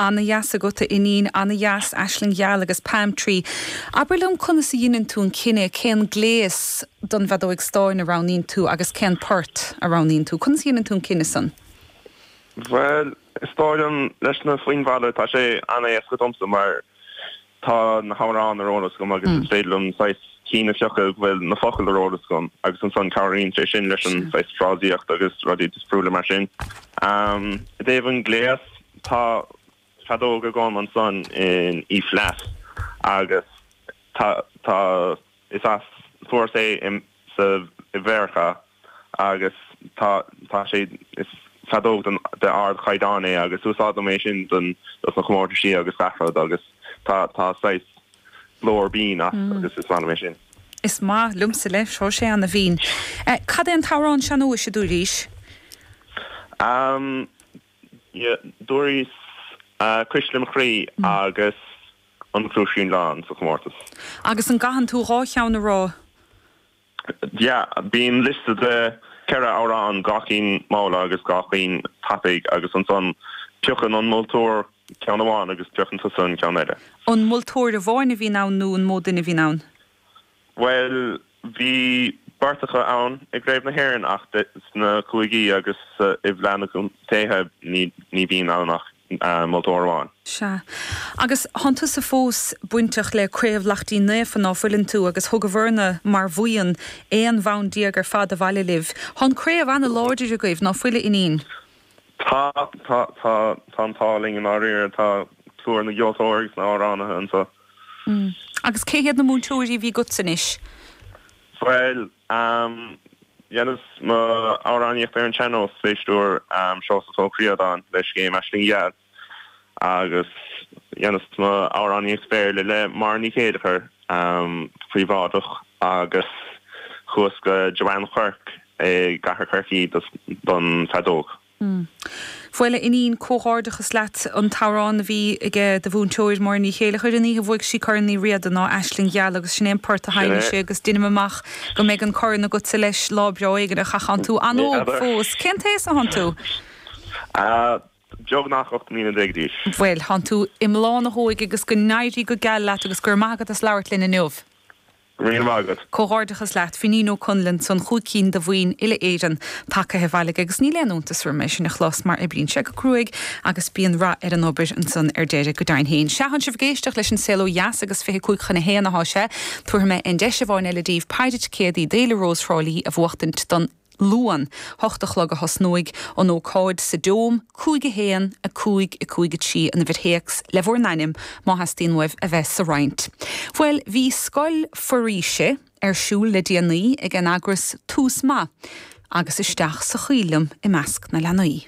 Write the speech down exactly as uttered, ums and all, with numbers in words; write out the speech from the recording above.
Ana-dheas agat a Fhínín, ana-dheas Aisling Gheal agus Palm Tree. Abair liom conas a dhéanann tú an cinneadh cén gléas don bhfeadóig stáin a roghnaíonn tú agus cén port a roghnaíonn tú. Conas a dhéanann tú an cinneadh san? Well, is dóigh liom leis na foinbhalla tá sé an-éasca domsa mar tá na hamhráin ar eolas agam agus is féidir liom saghas cinn a phiocadh bhfuil na focail ar eolas agam agus ansan cabhraíonn sé sin leis an saghas frásaíocht agus rudaí difriúla mar sin. Um, I dtaobh an gléas tá feadóg agam ansan in E flat agus tá tá is as fuaireas é in sa i Mheiriceá agus tá tá sé is feadóg den de ardchaighdeán é agus úsáidim é sin don dos na comórtaisí agus gach rud agus tá tá saghas glór binn as mm. agus is maith é sin. Is maith liomsa leis seo sé an-bhinn. Eh, cad é an t-amhrán sean-nóis a dúraís? Um, yeah, dúraís uh, Cuisle mo Chroí mm. agus an Cluaisín Lán sa chomórtas. Agus an gcaitheann tú dhá cheann a rá? Ja, bíonn liosta de ceithre amhrán gach aon bhabhta agus gach aon tapaidh agus ansan piocann an moltóir ceann amháin agus piocann tusa an ceann eile. An moltóir amháin a bhíonn ann nó an mó duine a bhíonn ann? Well, bhí beirt acu ann i gCraobh na hÉireann ach sna cúigí agus i bhFleadh na gContaetha ní ní bhíonn ann ach uh, moltóir amháin. Sea. Agus thánn tusa fós bainteach le Craobh Laichtín Naofa ná fuileann tú agus thugabhair-ne mar bhuíon aon bhonn déag ar fad abhaile libh. Tá an craobh an-láidir agaibh ná fuil a Fhínín. Tá tá tá tá an t-ádh linn in áirithe tá plúr na gceoltóirí agus na n-amhránaithe anseo. Mm. Agus cé hiad na múinteoirí a bhí agat anois? Well, um, dheineas m'amhránaíocht ar an sean-nós fé stiúir um, Seosamh Ó Críodáin le scéim Aisling Gheal agus dheineas m'amhránaíocht Béarla le Máire Ní Chéileachair um, príobháideach agus chuas go Joanne Quirke i gCathair Chorcaí don feadóg. Mm. Bhuel a Fhínín comhghairdeachas leat an t-amhrán a bhí aige do mhúinteoir Máire Ní Chéileachair an oíche a bhuaigh sí Corn Uí Riada ná Aisling Gheal agus sin é an port a sheinn sé agus deinim amach go mbeidh an corn agatsa leis lá breá éigin ach thánn tú an-óg fós. Cén t-aois athánn tú? Uh, Beagnach ocht mbliana déag d'aois. Bhuel thánn tú i mbláth na hóige agus go n-éirí go geal leat agus gur maith agat as labhairt linn inniu. Rí agat. Comhghairdeachas leat Finín Ó Conlin san chúig cinn de bhoinn uile Éireann tagtha abhaile agus níl aon iontas orm é sin a chlos mar oibríonn sé go cruaidh agus bíonn rath ar an obair ansan ar deireadh go deimhin féin. Sea thánn sibh ag éisteacht leis an Saol Ó Dheas agus fiche cúig chun a haon atá sé, tabharfaidh mé an deis amháin eile daoibh péire ticéadaí d'Fhéile Rós Thrá Lí a bhuachtaint don Luan hocht a chlog a thosnóidh an ócáid sa Dome cúig a haon a cúig a cúig a trí an uimhir théacs le bhur n-ainm má theastaíonn uaibh a bheith sa roinnt. Bhuel bhí scoil foraoise ar siúl le déanaí ag an eagras Tús Maith agus isteach sa choill liom i measc na leanaí.